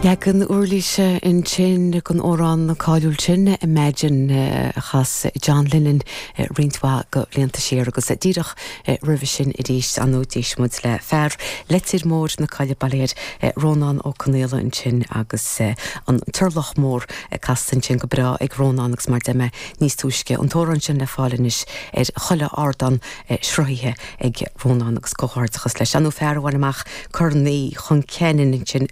Leagan uirlise ansin den amhrán cáiliúil sin, Imagine, a chas John Lennon roinnt mhaith de bhlianta siar agus díreach roimhe sin arís, ar ndóigh, d'éist muid le fear Leitir Móir na Coille, bail air, Rónán Ó Conaola ansin agus an Turlach Mór casta ansin go breá ag Rónán agus mar a deir mé níos túisce, an t-amhrán sin le fáil anois ar chuile ardán sruthaithe ag Rónán agus comhghairdeachas leis. Ar ndóigh fear a bhain amach Corn Uí Chon Ceanainn ansin.